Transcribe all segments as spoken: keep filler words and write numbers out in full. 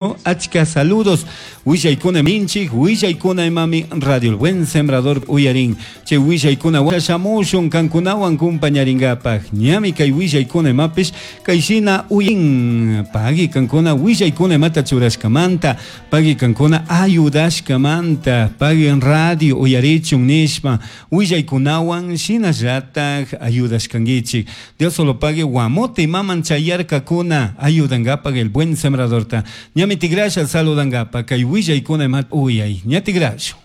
Achka saludos willaykuna minchik willaykuna imami Radio El Buen Sembrador uyarin chay willaykuna shamushun kankunawan kumpañaringapaj ñami kay willaykuna imapish kayshina uyarin pagui kankuna willaykuna imata churashkamanta pagui kankuna ayudashkamanta pagui radio uyarichun nishpa willaykunawan shinallatak ayudashkankichik Dios solo pague Guamote imaman chayarkakuna ayudankapaj El Buen Sembradorta ñami tigrasha saludangapa kay willaykuna imat uyay ña tigrashu.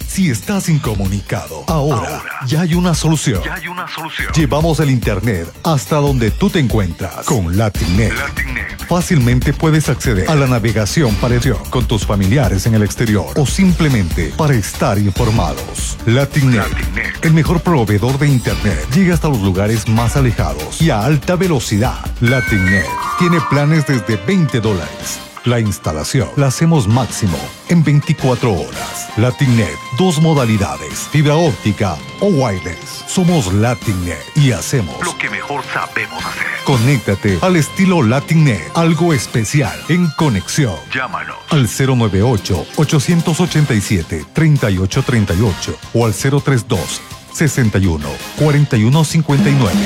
Si estás incomunicado, ahora, ahora ya hay una solución. Ya hay una solución. Llevamos el internet hasta donde tú te encuentras con LatinNet. LatinNet. Fácilmente puedes acceder a la navegación para con tus familiares en el exterior o simplemente para estar informados. LatinNet, LatinNet. el mejor proveedor de internet, llega hasta los lugares más alejados y a alta velocidad. LatinNet tiene planes desde veinte dólares. La instalación la hacemos máximo en veinticuatro horas. LatinNet, dos modalidades, fibra óptica o wireless. Somos LatinNet y hacemos lo que mejor sabemos hacer. Conéctate al estilo LatinNet, algo especial en conexión. Llámanos al cero nueve ocho, ochocientos ochenta y siete, treinta y ocho treinta y ocho o al cero tres dos, sesenta y uno, cuarenta y uno cincuenta y nueve.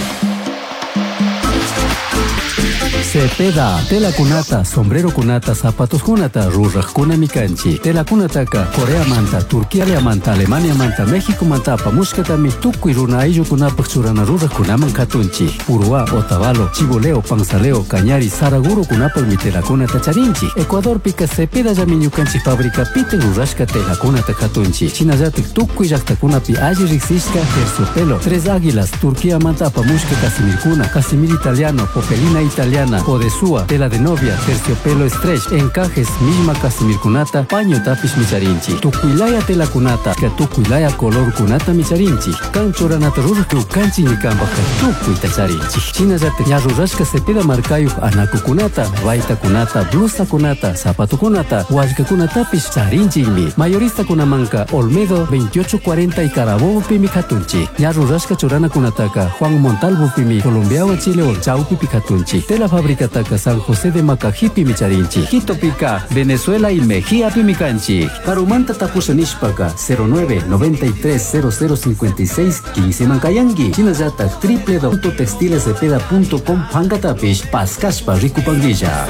Cepeda, tela kunata, sombrero kunata, zapatos kunata, ruraj kunami kanchi. Tela kunataka, Corea manta, Turquía manta, Alemania manta, México manta, apamushkatami, tukuy runa ayllukunapaj churana ruraj kunaman katunchi. Uruá, Otavalo, Chiboleo, Panzaleo, Cañari, Saraguro kunapaj mi tela kunata charinchi. Ecuador pika Cepeda llami ñukanchik fábrica pite rurashka tela kunata katunchi. Shinallatik tukuy llaktakunapi alli riksishka terciopelo, Tres Águilas, Turquía manta apamushka casimirkuna, casimir italiano, popelina italiana, Odesúa, tela de novia, terciopelo stretch, encajes, misma casimirkunata, paño tapis micharinchi. Tukuilaya tela kunata, ka tukuilaya color kunata micharinchi. Kan churanata ruraj kanchi ñikanpajka tukuyta charinchi. Shinallata ña rurashka Cepeda markayuj anakukunata, baytakunata, blusakunata, zapatukunata, wallkakunatapis charinchikmi. Mayorista kunamanka Olmedo veintiocho cuarenta y Carabobo pimi katunchi. Ña rurashka churanakunataka Juan Montalvo pimi, Colombiawa Chile Chaupi katunchi. Tela fábrica Taka San José de Macajipi micharinchi. Quito pica, Venezuela y Mejía pimicanchi. Karumanta tapusha nishpaka cero nueve noventa y tres cero cero cincuenta y seis quince mancayangui. Chinallata triple punto textiles cepeda punto com pankatapish pascashpa rikupanguilla.